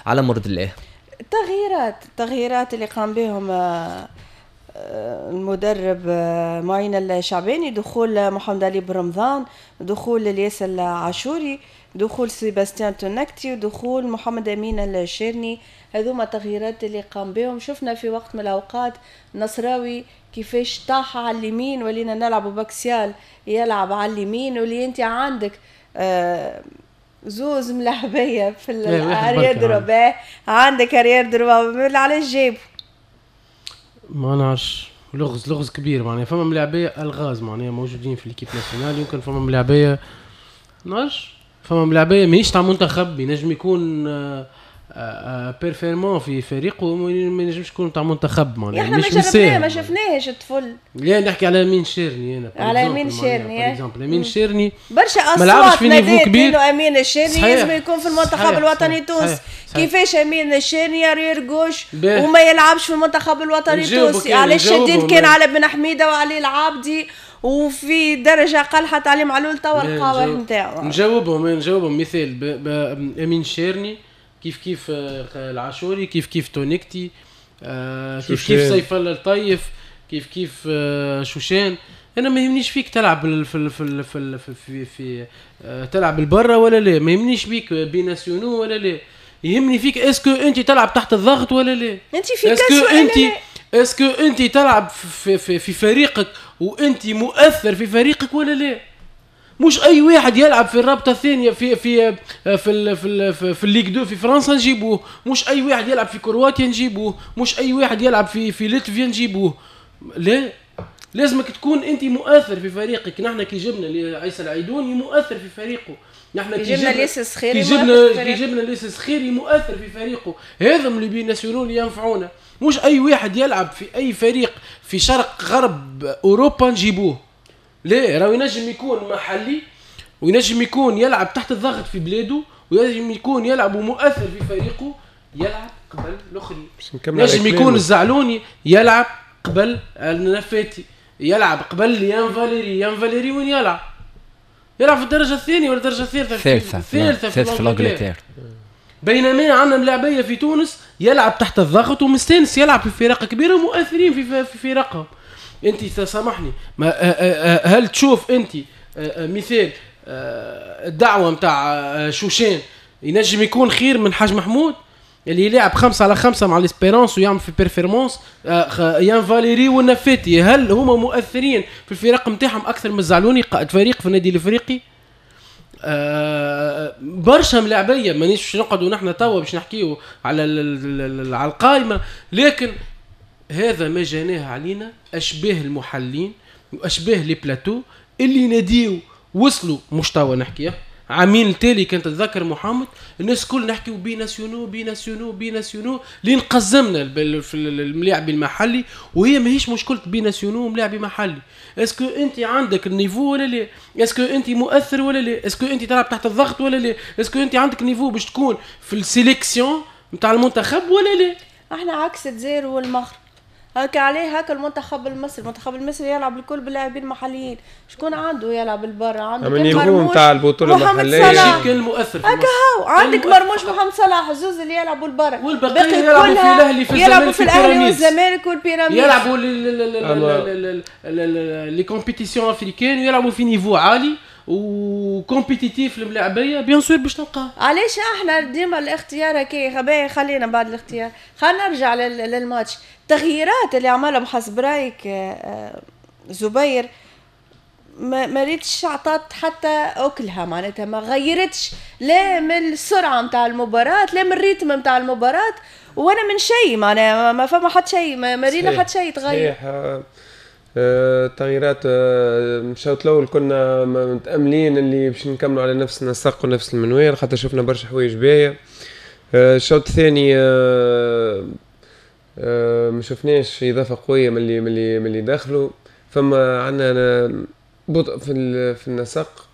على مرض الله. التغييرات اللي قام بهم المدرب معين الشعباني، دخول محمد علي برمضان، دخول الياس العاشوري، دخول سيباستيان تونكتي، ودخول محمد امين الشيرني، هذوما التغييرات اللي قام بهم. شفنا في وقت من الاوقات نصراوي كيفاش طاح على اليمين، ولينا نلعبوا ب axial يلعب على اليمين، واللي انت عندك زوز ملاعبيه في ال arrière droit، عندك arrière droit، علاش جايبه؟ ما نعرفش، لغز كبير معناها. فما ملاعبيه الغاز معناها موجودين في l'équipe nationale، يمكن فما ملاعبيه نعرفش، فما ملاعبيه ماهيش تاع منتخب، ينجم يكون performant في فريقه، ما ينجمش يكون تاع منتخب معناها. احنا ما شفناه، ما شفناهش الطفل. لا نحكي على امين شيرني انا، على امين شيرني امين شيرني برشا اصوات نادات انه امين الشيرني لازم يكون في المنتخب الوطني التونسي. كيفاش امين الشيرني arrière gauche وما يلعبش في المنتخب الوطني التونسي؟ علاش شديد كان على بن حميده وعلي العابدي وفي درجه اقل حتى علي معلول توا القوة نتاعو. نجاوبهم مثال امين شيرني كيف كيف العاشوري، كيف كيف تونكتي، كيف كيف سيف الله الطيف، كيف كيف شوشان. انا ما يهمنيش فيك تلعب في في في في, في تلعب البرة ولا لا، ما يهمنيش بيك binationaux ولا لا، يهمني فيك est-ce que انت تلعب تحت الضغط ولا لا، انت في est-ce que انت est-ce que انت تلعب في, في, في فريقك وانت مؤثر في فريقك ولا لا. مش اي واحد يلعب في الرابطة الثانية في في في ال في ال في, في ال Ligue 2 في فرنسا نجيبوه، مش اي واحد يلعب في كرواتيا نجيبوه، مش اي واحد يلعب في لتفيا نجيبوه. لا، لازمك تكون انت مؤثر في فريقك. نحن كي جبنا عيسى العيدوني مؤثر في فريقه، نحن كي جبنا ليس الصخيري، كي جبنا ليس الصخيري مؤثر في فريقه. هذا les binationaux اللي ينفعونا، مش اي واحد يلعب في اي فريق في شرق غرب اوروبا نجيبوه. لا، راهو ينجم يكون محلي وينجم يكون يلعب تحت الضغط في بلاده وينجم يكون يلعب ومؤثر في فريقه، يلعب قبل الاخرين. ينجم يكون الزعلوني يلعب قبل النفاتي، يلعب قبل يان فاليري. يان فاليري وين يلعب؟ يلعب في الدرجة الثانية ولا الدرجة الثالثة؟ الثالثة في l'Angleterre. بينما عندنا ملاعبيه في تونس يلعب تحت الضغط ومستانس يلعب في فرق كبيرة ومؤثرين في فرقهم. انت تسامحني، ما هل تشوف انت مثال الدعوة نتاع شوشان ينجم يكون خير من حاج محمود اللي يلعب 5-5 مع l'Espérance ويعمل في performance؟ يان فاليري والنفاتي هل هما مؤثرين في الفرق نتاعهم اكثر من الزعلوني قائد فريق في النادي الافريقي؟ برشا ملاعبيه، مانيش باش نقعدوا نحن توا باش نحكيو على على القائمة، لكن هذا ما جاناه علينا اشباه المحللين واشباه les plateaux اللي ناديو وصلوا. مش توا نحكيه، عامين التالي كان تتذكر محمد الناس كل نحكيو binationaux binationaux binationaux لين قزمنا في الملاعب المحلي، وهي ماهيش مشكلة binationaux وملاعب محلي. est-ce que انت عندك ال niveau ولا لا؟ est-ce que انت مؤثر ولا لا؟ est-ce que انت تلعب تحت الضغط ولا لا؟ est-ce que انت عندك niveau باش تكون في ال sélection نتاع المنتخب ولا لا؟ احنا عكس الجزائر والمغرب، هكا عليه هكا المنتخب المصري، المنتخب المصري يلعب الكل باللاعبين المحليين، شكون عنده يلعب البرا؟ عنده كان مرموش نتاع البطولة المحلية كان مؤثر هكا هو، عندك مرموش محمد صلاح زوز اللي يلعبوا البرا، والبقية يلعبوا في الاهلي في يلعبوا في الاهلي والزمالك والبيراميدز، يلعبوا les compétitions africaines ويلعبوا في niveau عالي و compétitif الملاعبيه bien sûr باش تلقاه. علاش احنا ديما الاختيار هكا غباء؟ خلينا بعد الاختيار خلينا نرجع للماتش. التغييرات اللي عملهم حسب رايك زبير ما ريتش عطات حتى اكلها، معناتها ما غيرتش لا من السرعة نتاع المباراة لا من ال rythme نتاع المباراة ولا من شيء، معناها ما فما حتى شيء، ما رينا حتى شيء تغير. صحيح، التغييرات الشوط الاول كنا متاملين اللي باش نكملوا على نفس النسق ونفس المنوال خاطر شفنا برشا حوايج باهيه. الشوط الثاني ما شفناش اضافه قوية من اللي دخلوا، فما عندنا بطء في النسق.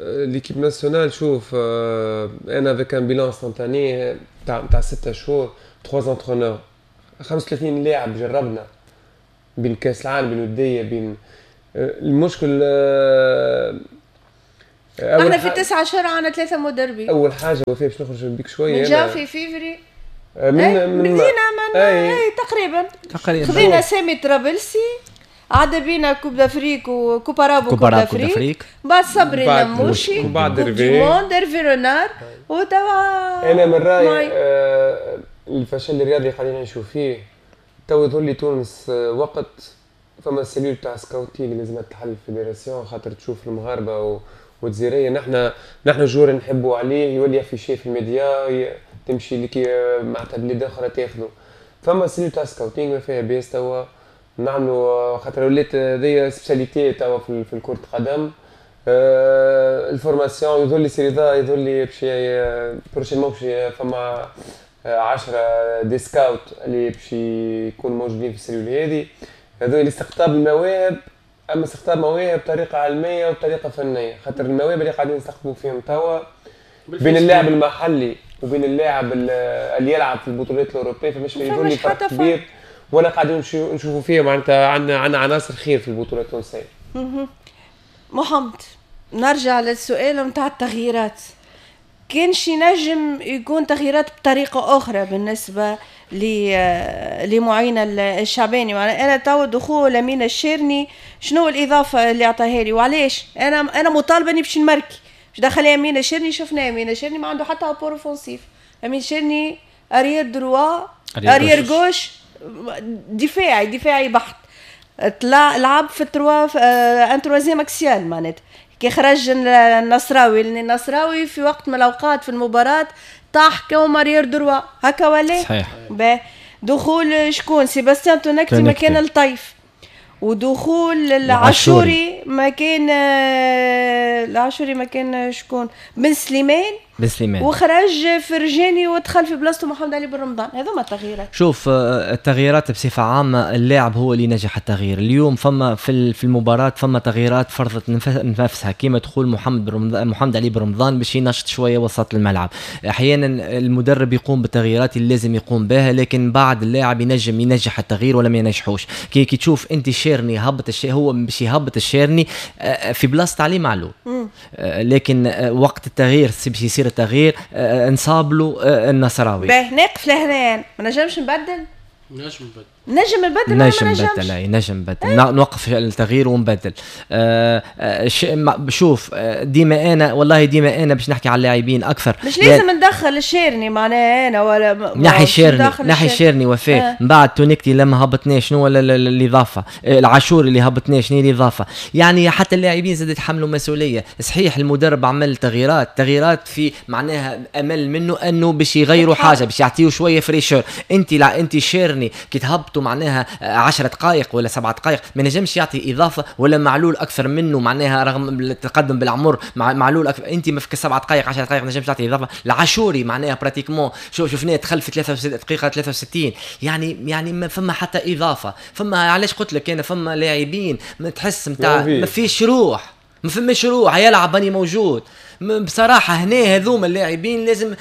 l'équipe nationale شوف انا avec un bilan instantané تاع 6 شهور 3 entraîneurs 35 لاعب جربنا بين كاس العالم بين وديه بين المشكل. احنا في 9 اشهر عندنا 3 مدربين. اول حاجة وفاء باش نخرج بك شوية من جانفي فيفري من بدينا من تقريبا خذينا سامي طرابلسي، عدا بينا Coupe d'Afrique و Coupe arabe و Coupe d'Afrique، بعد صبري لموشي، وبعد ريفي رونار، وتوا انا من رايي الفشل الرياضي قاعدين نعيشوا فيه تو يظهر لي تونس وقت فما cellule تاع scouting لازم تحل في fédération خاطر تشوف المغاربة والجزائريه. نحن joueur نحبوا عليه يولي affiché في الميديا، تمشي لك معناتها بلاد اخرى تاخذه. فما cellule تاع scouting ما فيها باس توا نعملوا، خاطر ولات هذيا spécialité توا في كرة القدم. ال formation يظهر لي سي رضا يظهر لي باش prochainement باش فما 10 des scouts اللي باش يكونوا موجودين في ال cellule هذه. هذول لاستقطاب المواهب، اما استقطاب مواهب بطريقة علمية وبطريقة فنية، خاطر المواهب اللي قاعدين نستقطبوا فيهم توا بين اللاعب المحلي وبين اللاعب اللي يلعب في البطولات الاوروبية فماش يظهر لي فرق كبير، ولا قاعدين نشوفوا فيه معناتها عندنا عناصر خير في البطولة التونسية. محمد، نرجع للسؤال نتاع التغييرات، كان شي نجم يكون تغييرات بطريقة اخرى بالنسبة لمعين الشعباني؟ انا تو دخول امين الشيرني شنو الاضافة اللي عطاها لي وعلاش؟ انا مطالبه اني باش نمركي، باش دخل امين الشيرني، شفنا امين الشيرني ما عنده حتى apport offensif. امين الشيرني arrière droit arrière gauche، دفاعي بحت، طلع لعب في trois un troisième axial معناتها. كي خرج النصراوي، لان النصراوي في وقت من الاوقات في المباراة طاح comme arrière droit هكا ولا صحيح. دخول شكون؟ سيباستيان تونكتي مكان الطيف، ودخول العاشوري مكان العاشوري مكان شكون؟ بن سليمان، وخرج فرجاني ودخل في بلاصته محمد علي بن رمضان. هذوما التغييرات. شوف التغييرات بصفة عامة اللاعب هو اللي نجح التغيير. اليوم فما في المباراة فما تغييرات فرضت نفسها، كيما دخول محمد علي بن رمضان باش ينشط شوية وسط الملعب. احيانا المدرب يقوم بالتغييرات اللي لازم يقوم بها، لكن بعد اللاعب ينجم ينجح التغيير ولا ما ينجحوش. كي تشوف انت شيرني هبط هو باش يهبط الشيرني في بلاصة علي معلول، لكن وقت التغيير باش يصير التغيير انصاب له النصراوي. باه ناقف لهنا، ما نجمش نبدل، نجم نبدل، نجم نبدل، نوقف التغيير ونبدل. شوف ديما انا والله ديما انا باش نحكي على اللاعبين اكثر، مش لازم ندخل الشيرني معناها انا ولا نحي الشيرني وفاء. من بعد تونكتي لما هبطناه شنو الاضافة؟ العاشور اللي هبطناه شنو الاضافة؟ يعني حتى اللاعبين زاد يتحملوا مسؤولية. صحيح المدرب عمل تغييرات في معناها امل منه انه باش يغيروا حاجة، باش يعطيو شوية fraîcheur. انت شيرني كي تهبطوا معناها 10 دقائق ولا 7 دقائق ما نجمش يعطي اضافه، ولا معلول اكثر منه معناها رغم التقدم بالعمر معلول أكثر. انت ما فيك 7 دقائق 10 دقائق ما نجمش تعطي اضافه. العاشوري معناها pratiquement شفناه دخل في 3 دقيقة 63، يعني ما فما حتى اضافه. فما علاش قلت لك انا فما لاعبين ما تحس نتاع ما فيش روح، ما فماش روح، يلعب اني موجود. بصراحة هنا هذوما اللاعبين لازم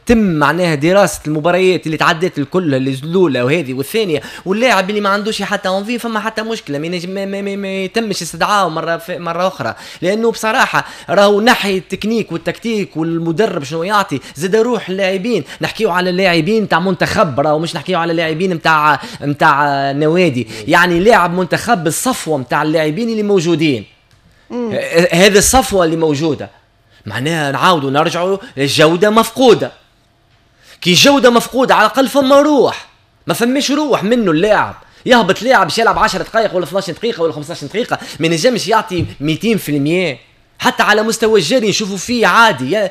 تم معناها دراسة المباريات اللي تعدت الكل، اللي الاولى وهذه والثانية، واللاعب اللي ما عندوش حتى envie فما حتى مشكلة ما يتمش استدعائه مرة اخرى، لانه بصراحة راهو ناحية التكنيك والتكتيك والمدرب شنو يعطي زاد روح اللاعبين. نحكيو على اللاعبين تاع منتخب، راهو مش نحكيو على اللاعبين نتاع نوادي، يعني لاعب منتخب الصفوة نتاع اللاعبين اللي موجودين. هذه الصفوة اللي موجودة معناها نعاودوا نرجعوا للجودة مفقودة. كي جوده مفقودة على الاقل فما روح، ما فماش روح منه اللاعب. يهبط لاعب باش يلعب 10 دقائق ولا 12 دقيقة ولا 15 دقيقة ما نجمش يعطي 200%. حتى على مستوى الجري نشوفوا فيه عادي،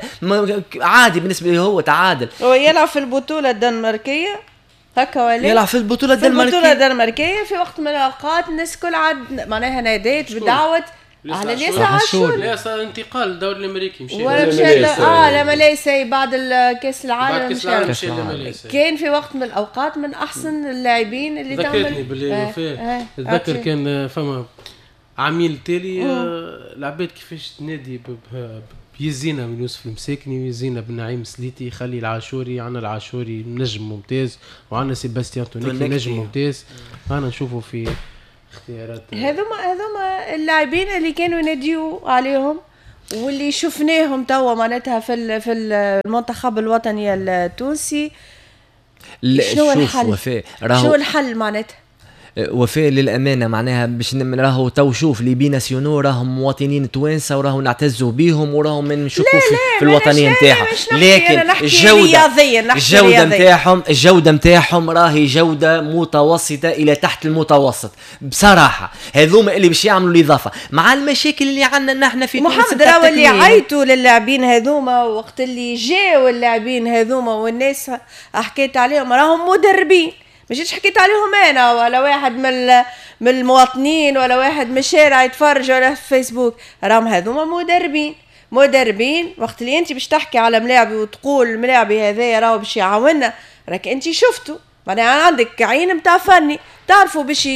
عادي بالنسبة له هو تعادل. هو يلعب في البطولة الدنماركيه هكا ولا يلعب في البطولة الدنماركيه؟ في البطولة الدنماركيه في وقت من الاوقات الناس الكل عاد معناها نادات بدعوة على الياس عاشور. لا صار انتقال للدوري الامريكي، مشى ولا مشى لماليزيا بعد كاس العالم، مشى لماليزيا. كان في وقت من الاوقات من احسن اللاعبين اللي تعمل. ذكرتني باللي وفاء، تذكر كان فما عميل تالي العباد كيفاش تنادي يزينا من يوسف المساكني ويزينا بن نعيم سليتي، خلي العاشوري، عندنا العاشوري نجم ممتاز وعندنا سيباستيان تونيكي نجم ممتاز. انا نشوفه في اختيارات هذوما اللاعبين اللي كانوا يناديو عليهم واللي شفناهم توا معناتها في المنتخب الوطني التونسي، شنو الحل؟ شنو الحل معناتها؟ وفاء للامانة معناها باش راهو تو شوف les binationaux راهم مواطنين توانسة وراهو نعتزوا بيهم وراهم من نشكوا في الوطنية نتاعهم، لكن الجودة نتاعهم راهي جوده متوسطه الى تحت المتوسط بصراحة. هذوما اللي باش يعملوا الاضافة مع المشاكل اللي عندنا نحن في تونس. محمد راهو اللي عيطوا للاعبين هذوما وقت اللي جاوا اللاعبين هذوما والناس حكيت عليهم راهم مدربين، ما جيتش حكيت عليهم انا ولا واحد من المواطنين ولا واحد من الشارع يتفرج ولا في فيسبوك، راهم هذوما مدربين. وقت اللي انت باش تحكي على ملاعبي وتقول الملاعبي هذايا راهو باش يعاوننا، راك انت شفته معناها عندك عين نتاع فني تعرفوا باش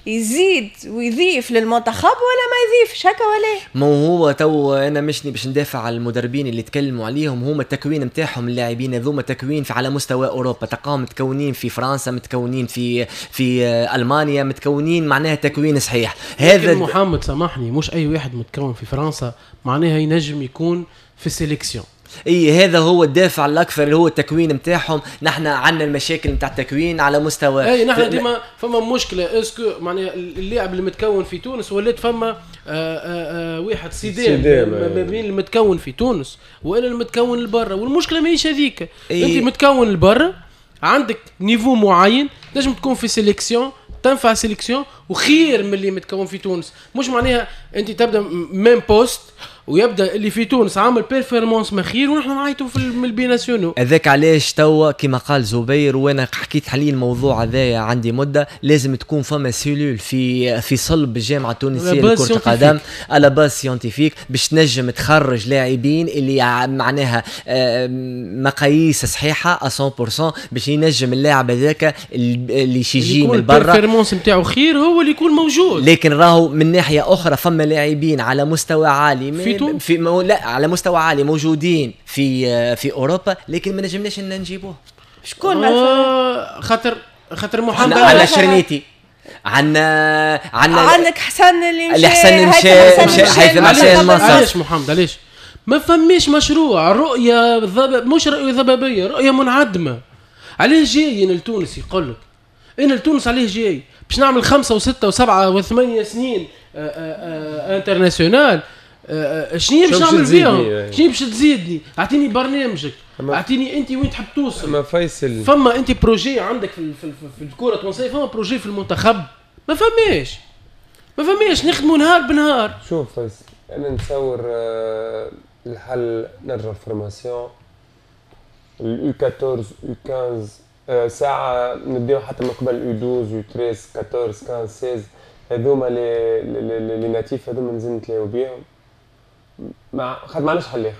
يزيد ويضيف للمنتخب ولا ما يضيفش، هكا ولا ما هو تو انا مشني باش ندافع على المدربين اللي تكلموا عليهم، هما التكوين نتاعهم اللاعبين هذوما تكوين في على مستوى اوروبا، تلقاهم متكونين في فرنسا، متكونين في المانيا، متكونين معناها تكوين صحيح. هذا محمد سامحني، مش اي واحد متكون في فرنسا معناها ينجم يكون في sélection. اي هذا هو الدافع الاكثر اللي هو التكوين نتاعهم. نحن عندنا المشاكل نتاع التكوين على مستوى اي نحن ديما فما مشكلة est-ce que معناها اللاعب اللي متكون في تونس ولات فما واحد صدام ما بين المتكون في تونس والا المتكون لبرا، والمشكلة ماهيش هذيك. انت متكون لبرا عندك niveau معين تنجم تكون في sélection، تنفع sélection وخير من اللي متكون في تونس. مش معناها انت تبدا même poste ويبدا اللي في تونس عامل performance مخير ونحن نعيطوا في ال binationaux. هذاك علاش توا كما قال زبير وانا حكيت حاليا الموضوع هذايا عندي مده، لازم تكون فما cellule في صلب الجامعة التونسية لكرة القدم على base scientifique باش تنجم تخرج لاعبين اللي معناها مقاييس صحيحه 100% باش ينجم اللاعب هذاك اللي يجي من برا ال performance نتاعو خير هو اللي يكون موجود. لكن راهو من ناحية اخرى فما لاعبين على مستوى عالي في لا على مستوى عالي موجودين في اوروبا، لكن ما نجمناش ان نجيبوه. شكون مثلا؟ خاطر محمد على شرنيتي، عندنا عندك حسن اللي مشى هيثم حسين مصر. علاش محمد علاش ما فماش مشروع رؤية مش رؤية ضبابية، رؤية منعدمة. علاش جاي انا لتونس؟ يقول لك انا لتونس عليه جاي باش نعمل 5 و6 و7 و8 سنين international. شنو باش نعمل فيهم؟ شنو باش تزيدني؟ اعطيني برنامجك، اعطيني انت وين تحب توصل. ما فيصل فما انت projet عندك في الكره التونسية، فما projet في المنتخب ما فماش نخدموا نهار بنهار. شوف فيصل، انا نتصور الحل نرجع formation ال U 14 U 15 ساعة نبداو حتى من قبل U 12 U 13 14 15 16 هذوما les natifs هذوما لازم نتلاقاو بيهم. مع خاطر ما عندناش حل اخر،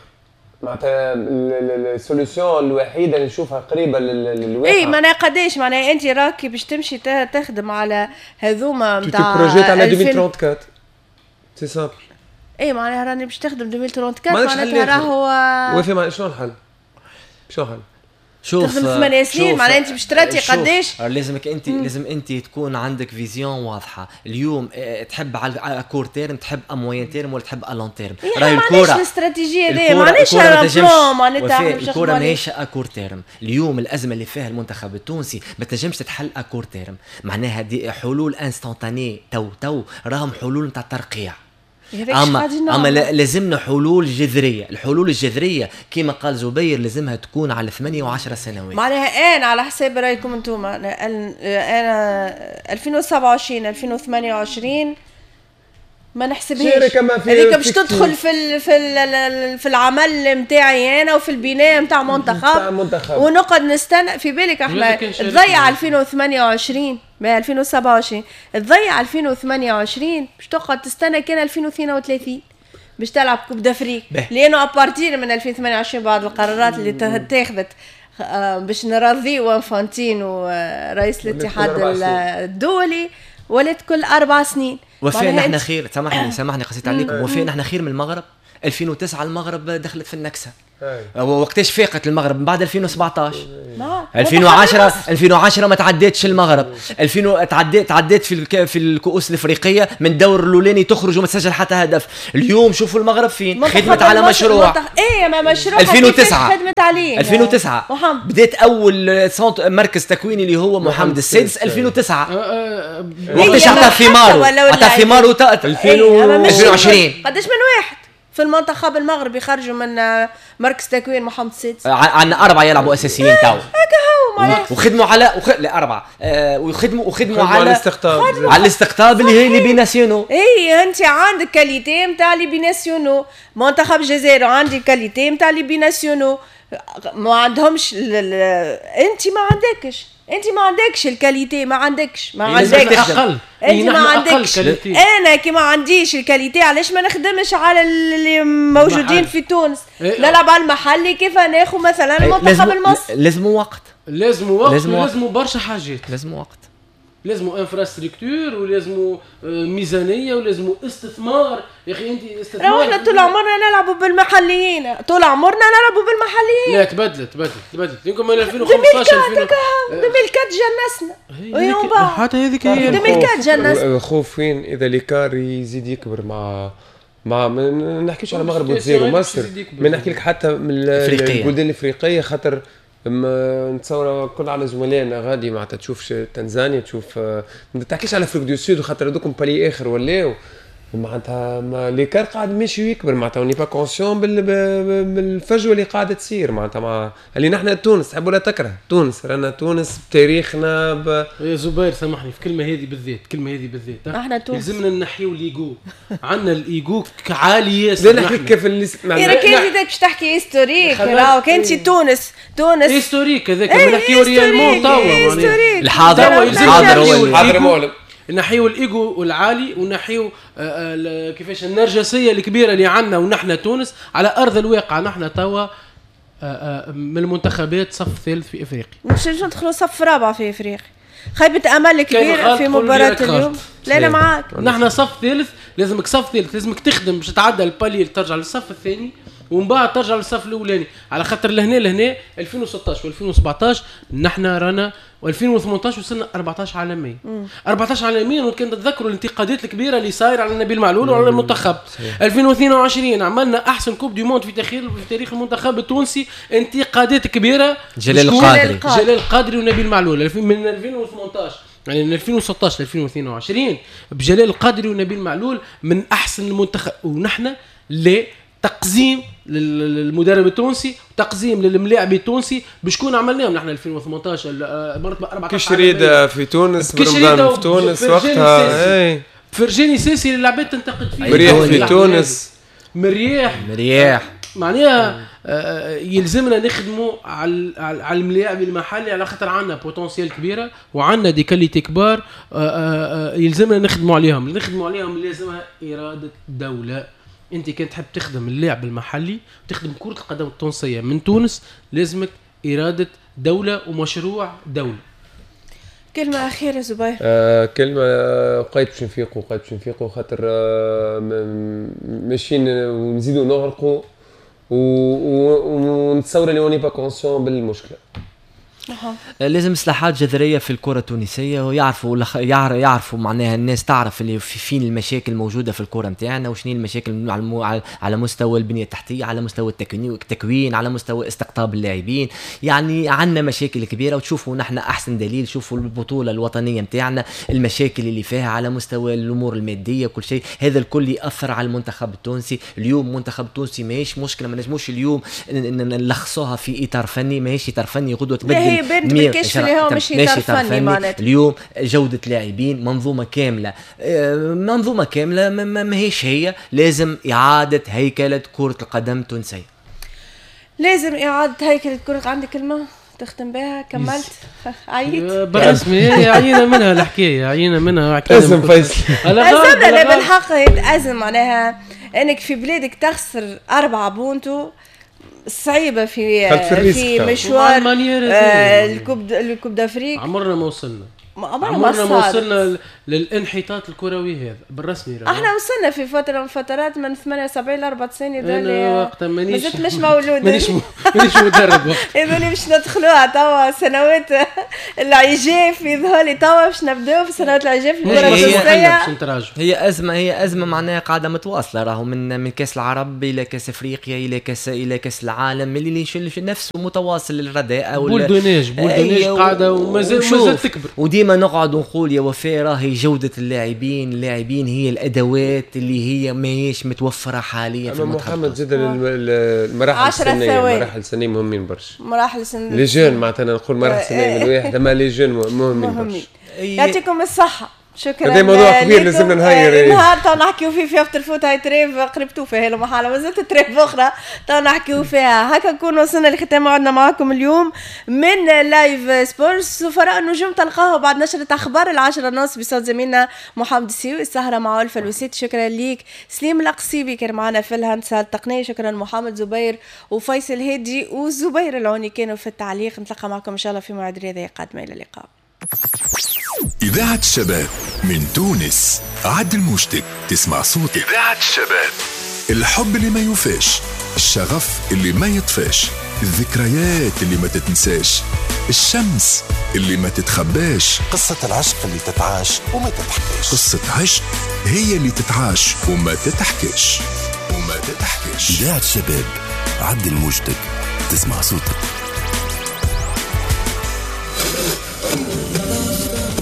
معناتها ال solution الوحيدة اللي نشوفها قريبه للواقع. اي معناها قداش معناها انت راكي باش تمشي تخدم على هذوما نتاع projet على 2034 c'est simple. اي معناها راني باش تخدم 2034 معناتها راهو وفي شنو الحل؟ شنو الحل؟ شوف تخدم 8 سنين معناها انت باش تراتي قداش؟ لازمك انت لازم انت تكون عندك vision واضحة. اليوم تحب على court terme، تحب à moyen terme، ولا تحب à long terme. راهي الكره الاستراتيجية هذه معناش plan، معناتها الكره ماهيش à court terme. اليوم الازمة اللي فيها المنتخب التونسي ما تنجمش تتحل à court terme، معناها des حلول instantanées تو راهم حلول نتاع ترقيع. اما لازمنا حلول جذرية. الحلول الجذرية كما قال زبير لازمها تكون على 8 و10 سنوات. معناها انا على حساب رايكم انتم انا 2027 2028 ما نحسبهاش هذيك باش تدخل في العمل نتاعي انا وفي البناء نتاع منتخب ونقعد نستنى. في بالك احنا تضيع 2028 ما 2027 تضيع 2028 باش تقعد تستنى كان 2032 باش تلعب Coupe d'Afrique، لانه à partir من 2028 بعض القرارات اللي اتخذت باش نرضيو انفانتينو رئيس الاتحاد الدولي ولات كل 4 سنين. وفاء نحن خير، سامحني قصيت عليكم. وفاء نحن خير من المغرب. 2009 المغرب دخلت في النكسه. وقتاش فاقت المغرب؟ من بعد 2017. 2010 ما تعدتش المغرب، 2000 تعديت في الكؤوس الافريقية من دور الاولاني تخرج وما تسجل حتى هدف. اليوم شوفوا المغرب فين، خدمت على مشروع. ايه ما مشروع 2009 خدمت عليه. 2009 بدات اول مركز تكويني اللي هو محمد السادس 2009. وقتاش عطى ثماره؟ عطى ثماره 2020. قداش من واحد في المنتخب المغربي خرجوا من مركز تكوين محمد السادس؟ عندنا 4 يلعبوا اساسيين تو. هكا هو معناها. وخدموا على لا 4 وخدموا على الاستقطاب، على الاستقطاب اللي هي les binationaux. اي انت عندك qualité نتاع les binationaux، منتخب الجزائر عندي qualité نتاع les binationaux، ما عندهمش. انت ما عندكش، انت ما عندكش ال qualité، ما عندكش، ما عندكش اقل، انت ما عندكش. انا كي ما عنديش ال qualité علاش ما نخدمش على اللي موجودين في تونس؟ نلعب على المحلي، كيف ناخذ مثلا المنتخب المصري؟ لازم وقت، لازم وقت، لازم برشا حاجات، لازم وقت، لازم infrastructure، ولازم ميزانية، ولازم استثمار. يا اخي انت استثمار. احنا طول عمرنا نلعبوا بالمحليين، طول عمرنا نلعبوا بالمحليين. لا تبدلت يمكن من 2015 2004 جنسنا، ويوم بعد حتى هذيك هي 2004 جنسنا. الخوف وين اذا l'écart يزيد يكبر مع ما نحكيش على المغرب والجزائر ومصر، ما نحكي لك حتى من البلدان الافريقية، خاطر نتصور كل على زملائنا غادي معناتها تشوف تنزانيا، تشوف ما تحكيش على Afrique du Sud خاطر هذوكم palier اخر ولاو معناتها l'écart قاعد ماشي ويكبر، معناتها on est pas conscient بالفجوه اللي قاعدة تصير معناتها مع اللي نحن تونس تحب ولا تكره تونس، رانا تونس بتاريخنا يا زبير سامحني في الكلمة هذه بالذات، الكلمة هذه بالذات احنا تونس لازمنا نحيو l'ego، عندنا الايجو عالي ياسر. لا نحكي كيف اللي معناتها كان باش تحكي historique، راهو كان تونس تونس historique هذاك ما نحكيو réellement توا الحاضر، الحاضر هو الحاضر معلم. نحيو الايجو العالي ونحيو كيفاش النرجسية الكبيرة اللي عندنا، ونحن تونس على ارض الواقع نحن توا من المنتخبات صف ثالث في افريقيا، مش ندخلوا صف رابع في افريقيا. خيبه امل كبيرة في مباراة اليوم. لا لا معاك، نحن صف ثالث، لازمك صف ثالث، لازمك تخدم باش تعدى ال palier ترجع للصف الثاني ومن بعد ترجع للصف الاولاني، على خاطر لهنا 2016 و2017 نحن رانا، و2018 وصلنا 14 عالميا. 14 عالميا، وكان تتذكروا الانتقادات الكبيرة اللي صايرة على نبيل معلول وعلى المنتخب. 2022 عملنا احسن coupe du monde في تاريخ المنتخب التونسي، انتقادات كبيرة جلال القادري، جلال القادري ونبيل معلول من 2018، يعني من 2016 ل 2022 بجلال القادري ونبيل معلول من احسن المنتخب. ونحن لا تقزيم للمدرب التونسي، تقزيم للملاعب التونسي، بشكون عملناهم نحن 2018 مرتبه 14 كشريده في تونس، برمضان في تونس وقتها، اي فرجاني ساسي اللي العباد تنتقد فيه، مريح في تونس، مريح معناها يلزمنا نخدموا على الملاعب المحلي، على خاطر عندنا potentiel كبيرة وعندنا des qualités كبار، يلزمنا نخدموا عليهم، لازمها اراده دولة. انت كان تحب تخدم اللاعب المحلي، تخدم كرة القدم التونسية من تونس، لازمك إرادة دولة ومشروع دولة. كلمة أخيرة زبير. كلمة قايد باش نفيقوا، قايد باش نفيقوا، خاطر ماشيين ونزيدوا نغرقوا ونتصور اللي on est pas conscient بالمشكلة. لازم اصلاحات جذرية في الكره التونسية، ويعرفوا يعرفوا معناها الناس تعرف اللي فين المشاكل الموجودة في الكره نتاعنا، وشنو المشاكل على مستوى البنية التحتية، على مستوى التكوين، على مستوى استقطاب اللاعبين. يعني عندنا مشاكل كبيرة، وتشوفوا نحن احسن دليل، شوفوا البطولة الوطنية نتاعنا المشاكل اللي فيها على مستوى الامور المادية كل شيء، هذا الكل ياثر على المنتخب التونسي. اليوم المنتخب التونسي ماهيش مشكلة، ما نجموش اليوم نلخصوها في اطار فني، ماهيش اطار فني غدوه تبدل بنت بالكشف اللي هو مش اطار فني. معناتها اليوم جوده لاعبين، منظومة كاملة، منظومة كاملة ماهيش هي. لازم اعاده هيكله كره القدم التونسية، لازم اعاده هيكله كره. عندك كلمة تختم بها؟ كملت عييت بالرسمي، عيينا منها الحكاية، عيينا منها. ازم فيصل، ازمنا. لا بالحق ازم، معناها انك في بلادك تخسر 4 بونتو صعيبة في مشوار ال coupe d'Afrique. عمرنا ما وصلنا، عمرنا ما وصلنا للانحطاط الكروي هذا بالرسمي. احنا وصلنا في فترة من فترات من 78 ل 94 هذول وقتها مازلت مش مولود، مانيش مدرب وقت هذول باش ندخلوها توا سنوات العجاف يظهر لي توا باش نبداو في سنوات العجاف الكره التونسية. هي ازمة معناها قاعدة متواصلة، راهو من كاس العرب الى كاس افريقيا الى كاس العالم اللي نفسه متواصل الرداءه boule de neige قاعدة ومازال تكبر. وديما نقعد ونقول يا وفاء راهي جودة اللاعبين هي الأدوات اللي هي ماهيش متوفرة حاليا في المنتخب. محمد زاد المراحل السنية، المراحل السنية مهمين برشا. مراحل السنية les jeunes معناتها نقول مراحل سنية من واحد، اما les jeunes مهمين برشا. يعطيكم الصحة، شكرا. هذا موضوع كبير لازمنا نهير نهار تو نحكيو فيه في افطر فوت. هاي trêve قربتو فيها المحالة، مازالت trêve اخرى تو نحكيو فيها. هكا نكون وصلنا لختام موعدنا معاكم اليوم من live sport. سفراء النجوم تلقاه بعد نشرة اخبار 10:30 بصوت زميلنا محمد السيوي. السهرة مع ألفة الوسيط. شكرا ليك سليم القصيبي كان معنا في الهندسة التقنية. شكرا محمد زبير وفيصل هادي وزبير العوني كانوا في التعليق. نتلقى معكم ان شاء الله في موعد رياضي قادمة. الى اللقاء. إذاعة الشباب من تونس، عدل موجتك تسمع صوتك. إذاعة الشباب، الحب اللي ما يوفاش، الشغف اللي ما يطفاش، الذكريات اللي ما تتنساش، الشمس اللي ما تتخباش، قصة العشق اللي تتعاش وما تتحكاش. قصة عشق هي اللي تتعاش وما تتحكاش وما تتحكاش. إذاعة الشباب، عدل موجتك تسمع صوتك.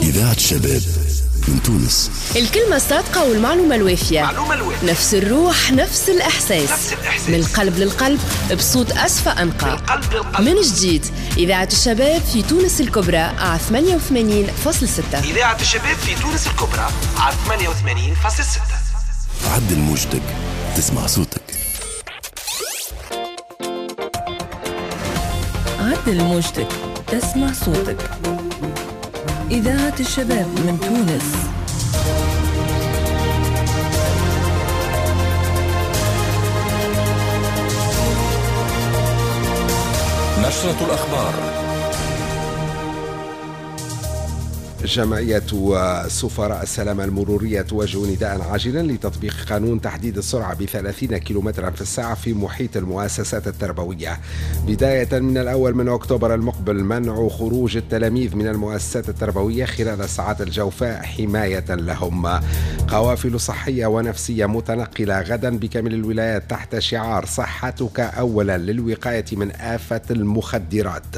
إذاعة الشباب من تونس. الكلمة الصادقة والمعلومة الوافية، نفس الروح، نفس الإحساس، نفس الإحساس. من القلب للقلب بصوت أسفى أنقى. من جديد إذاعة الشباب في تونس الكبرى على 88.6. إذاعة الشباب في تونس الكبرى على 88.6. عدل موجتك تسمع صوتك. عدل موجتك تسمع صوتك. إذاعة الشباب من تونس. نشرة الأخبار. جمعية سفراء السلامة المرورية توجه نداء عاجلا لتطبيق قانون تحديد السرعة ب30 كيلومترا في الساعة في محيط المؤسسات التربوية بداية من 1 أكتوبر المقبل. منع خروج التلاميذ من المؤسسات التربوية خلال ساعات الجوفاء حماية لهم. قوافل صحية ونفسية متنقلة غدا بكامل الولايات تحت شعار صحتك أولا للوقاية من آفة المخدرات.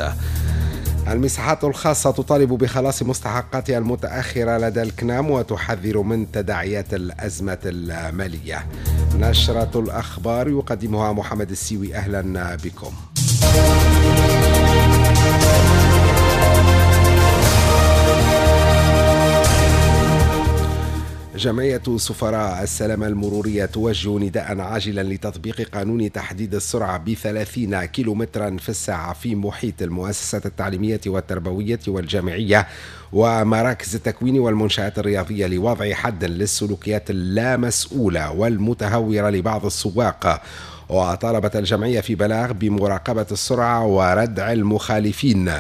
المساحات الخاصة تطالب بخلاص مستحقاتها المتأخرة لدى الكنام وتحذر من تداعيات الأزمة المالية. نشرة الأخبار يقدمها محمد السيوي. أهلا بكم. جمعية سفراء السلامة المرورية توجه نداء عاجلا لتطبيق قانون تحديد السرعة ب30 كيلومترا في الساعة في محيط المؤسسات التعليمية والتربوية والجامعية ومراكز التكوين والمنشآت الرياضية لوضع حد للسلوكيات اللامسؤولة والمتهورة لبعض السواق. وطالبت الجمعية في بلاغ بمراقبة السرعة وردع المخالفين،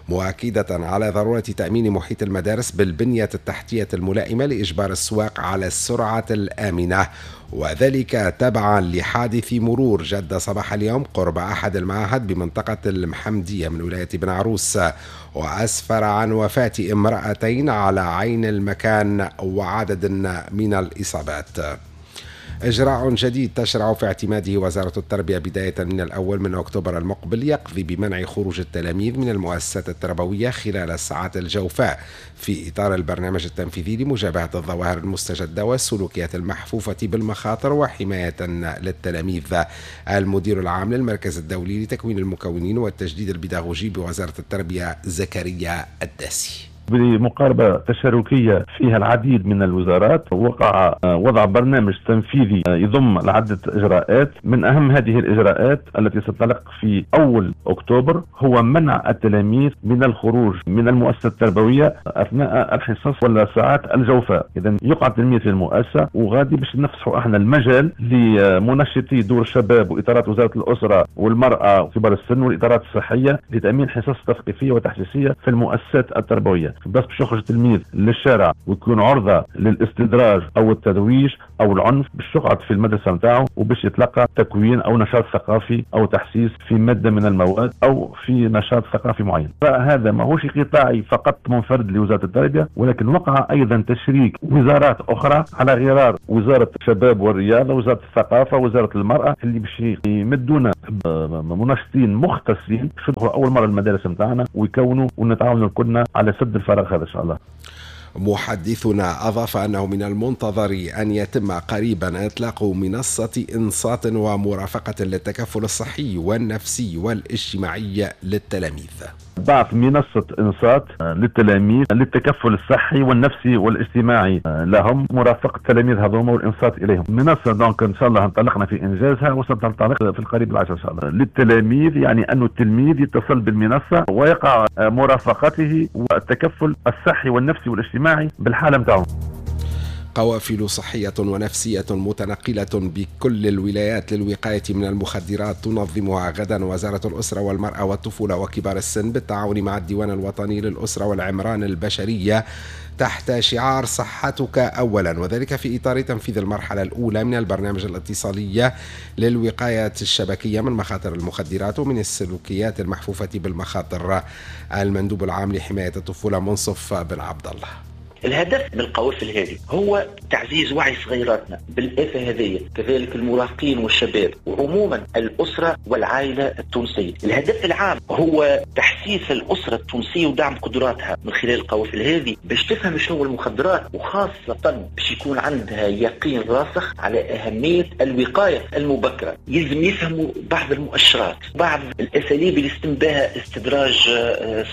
مؤكدة على ضرورة تأمين محيط المدارس بالبنية التحتية الملائمة لإجبار السواق على السرعة الآمنة، وذلك تبعا لحادث مرور جد صباح اليوم قرب أحد المعاهد بمنطقة المحمدية من ولاية بن عروس، وأسفر عن وفاة امرأتين على عين المكان وعدد من الإصابات. إجراء جديد تشرع في اعتماده وزارة التربية بداية من 1 أكتوبر المقبل يقضي بمنع خروج التلاميذ من المؤسسات التربوية خلال الساعات الجوفاء في إطار البرنامج التنفيذي لمجابهة الظواهر المستجدة والسلوكيات المحفوفة بالمخاطر وحماية للتلاميذ. المدير العام للمركز الدولي لتكوين المكونين والتجديد البيداغوجي بوزارة التربية زكريا الداسي. بمقاربة تشاركية فيها العديد من الوزارات وقع وضع برنامج تنفيذي يضم عدة إجراءات. من أهم هذه الإجراءات التي ستنطلق في 1 أكتوبر هو منع التلاميذ من الخروج من المؤسسة التربوية أثناء الحصص ولا ساعات الجوفاء. إذا يقع التلميذ في المؤسسة وغادي باش نفسحوا احنا المجال لمنشطي دور الشباب وإطارات وزارة الأسرة والمرأة وكبار السن والإطارات الصحية لتأمين حصص تثقيفية وتحسيسية في المؤسسات التربوية. بس باش يخرج التلميذ للشارع ويكون عرضه للاستدراج او الترويج او العنف، باش يقعد في المدرسة نتاعو وباش يتلقى تكوين او نشاط ثقافي او تحسيس في مادة من المواد او في نشاط ثقافي معين. فهذا ماهوش قطاعي فقط منفرد لوزارة التربية، ولكن وقع ايضا تشريك وزارات اخرى على غرار وزارة الشباب والرياضة، وزارة الثقافة، وزارة المراة، اللي باش يمدونا منشطين مختصين باش يدخلوا اول مرة المدارس نتاعنا ويكونوا ونتعاونوا كلنا على سد الفراغ هذا ان شاء الله. محدثنا أضاف أنه من المنتظر أن يتم قريبا إطلاق منصة إنصات ومرافقة للتكفل الصحي والنفسي والاجتماعي للتلاميذ. بعث منصة إنصات للتلاميذ للتكفل الصحي والنفسي والاجتماعي لهم، مرافقة التلاميذ هذوما والإنصات إليهم. منصة donc إن شاء الله انطلقنا في إنجازها وستنطلق في القريب العاجل إن شاء الله. للتلاميذ يعني أن التلميذ يتصل بالمنصة ويقع مرافقته والتكفل الصحي والنفسي والاجتماعي بالحالة متاعهم. قوافل صحية ونفسية متنقلة بكل الولايات للوقاية من المخدرات تنظمها غدا وزارة الأسرة والمرأة والطفولة وكبار السن بالتعاون مع الديوان الوطني للأسرة والعمران البشرية تحت شعار صحتك أولا، وذلك في إطار تنفيذ المرحلة الأولى من البرنامج الاتصالي للوقاية الشبكية من مخاطر المخدرات ومن السلوكيات المحفوفة بالمخاطر. المندوب العام لحماية الطفولة منصف بن عبد الله: الهدف من القوافل هذه هو تعزيز وعي صغيراتنا بالآفة هذه، كذلك المراهقين والشباب وعموما الأسرة والعائلة التونسية. الهدف العام هو تحسيس الأسرة التونسية ودعم قدراتها من خلال القوافل هذه باش تفهم شنو المخدرات، وخاصة باش يكون عندها يقين راسخ على أهمية الوقاية المبكرة. يلزم يفهموا بعض المؤشرات، بعض الأساليب اللي يتم بها استدراج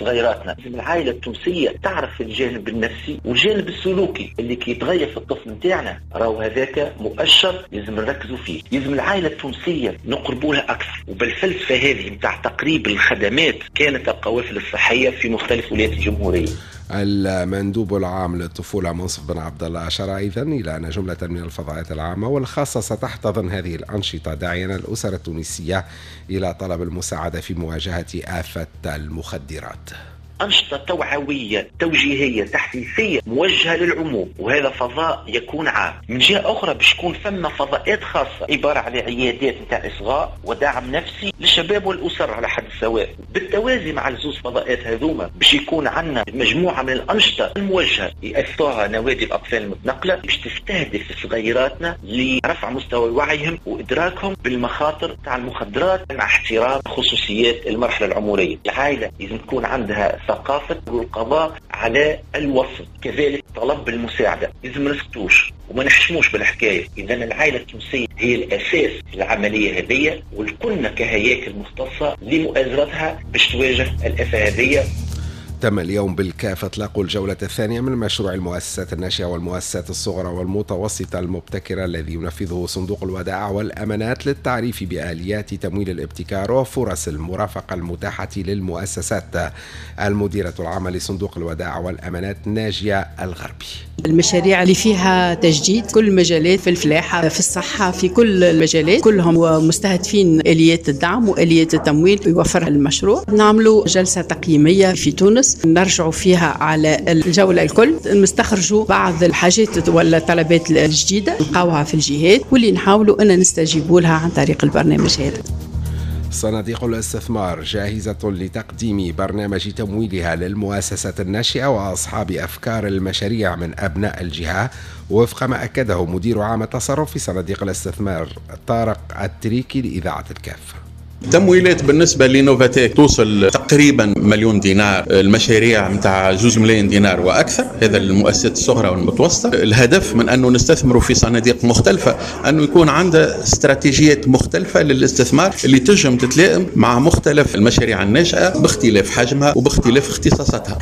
صغيراتنا. لازم العائلة التونسية تعرف الجانب النفسي والجانب السلوكي اللي كي يتغير في الطفل نتاعنا، راهو هذاك مؤشر لازم نركزوا فيه. لازم العائلة التونسية نقربوا لها اكثر، وبالفلسفه هذه نتاع تقريب الخدمات كانت القوافل الصحية في مختلف ولايات الجمهورية. المندوب العام للطفولة منصف بن عبد الله أشار أيضا إلى أن جملة من الفضاءات العامة والخاصة ستحتضن هذه الأنشطة، داعيا الأسر التونسية إلى طلب المساعدة في مواجهة آفة المخدرات. أنشطة توعوية توجيهية تحسيسية موجهة للعموم، وهذا فضاء يكون عام. من جهة أخرى باش يكون ثم فضاءات خاصة عبارة على عيادات نتاع إصغاء ودعم نفسي للشباب والأسر على حد سواء. بالتوازي مع الزوز فضاءات هذوما باش يكون عندنا مجموعة من الأنشطة الموجهة يأثرها نوادي الأطفال المتنقلة باش تستهدف صغيراتنا لرفع مستوى وعيهم وإدراكهم بالمخاطر تاع المخدرات مع احترام خصوصيات المرحلة العمرية. العائلة لازم تكون عندها ثقافة القضاء على الوصف، كذلك طلب المساعدة. لازم ما نسكتوش وما نحشموش بالحكاية. إذا العائلة التونسية هي الأساس في العملية هذه، والكلنا كهياكل مختصة لمؤازرتها باش تواجه الآفة هذه. تم اليوم بالكاف إطلاق الجولة الثانية من مشروع المؤسسات الناشئة والمؤسسات الصغرى والمتوسطة المبتكرة الذي ينفذه صندوق الودائع والأمانات للتعريف بآليات تمويل الابتكار وفرص المرافقة المتاحة للمؤسسات. المديرة العامة لصندوق الودائع والأمانات ناجية الغربي: المشاريع اللي فيها تجديد كل المجالات، في الفلاحة، في الصحة، في كل المجالات، كلهم مستهدفين آليات الدعم وآليات التمويل يوفرها المشروع. نعملوا جلسة تقييمية في تونس نرجعوا فيها على الجولة الكل، نستخرجوا بعض الحاجات ولا الطلبات الجديدة نلقاوها في الجهات واللي نحاولوا أن نستجيبوا لها عن طريق البرنامج هذا. صناديق الاستثمار جاهزة لتقديم برنامج تمويلها للمؤسسات الناشئة وأصحاب أفكار المشاريع من أبناء الجهة، وفق ما أكده مدير عام التصرف في صناديق الاستثمار طارق التريكي لإذاعة الكاف. تمويلات بالنسبة لنوفاتيك توصل تقريبا 1,000,000 دينار، المشاريع متاع 2 ملايين دينار وأكثر، هذا المؤسسات الصغرى والمتوسطة. الهدف من أنه نستثمروا في صناديق مختلفة أنه يكون عندها استراتيجيات مختلفة للاستثمار اللي تنجم تتلائم مع مختلف المشاريع الناشئة باختلاف حجمها وباختلاف اختصاصاتها.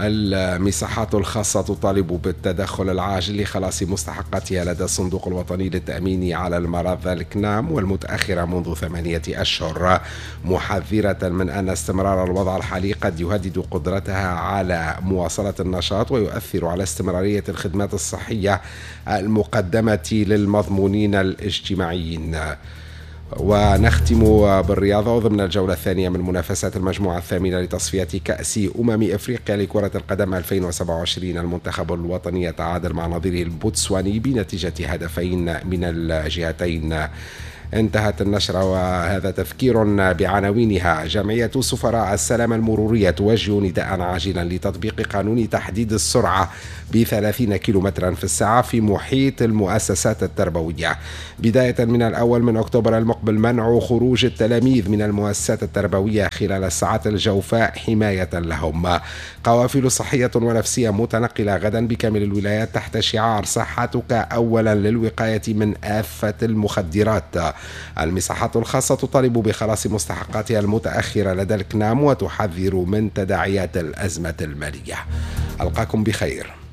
المساحات الخاصة تطالب بالتدخل العاجل لخلاص مستحقاتها لدى الصندوق الوطني للتأمين على المرض الكنام والمتأخرة منذ 8 أشهر، محذرة من أن استمرار الوضع الحالي قد يهدد قدرتها على مواصلة النشاط ويؤثر على استمرارية الخدمات الصحية المقدمة للمضمونين الاجتماعيين. ونختم بالرياضة. ضمن الجولة الثانية من منافسات المجموعة الثامنة لتصفية كأس أمم إفريقيا لكرة القدم 2027، المنتخب الوطني يتعادل مع نظيره البوتسواني بنتيجة 2 من الجهتين. انتهت النشرة، وهذا تذكير بعناوينها. جمعية سفراء السلامة المرورية توجه نداء عاجلا لتطبيق قانون تحديد السرعة ب30 كيلومترا في الساعة في محيط المؤسسات التربوية. بداية من 1 أكتوبر المقبل منع خروج التلاميذ من المؤسسات التربوية خلال الساعات الجوفاء حماية لهم. قوافل صحية ونفسية متنقلة غدا بكامل الولايات تحت شعار صحتك أولا للوقاية من آفة المخدرات. المصحات الخاصة تطالب بخلاص مستحقاتها المتأخرة لدى الكنام وتحذر من تداعيات الأزمة المالية. ألقاكم بخير.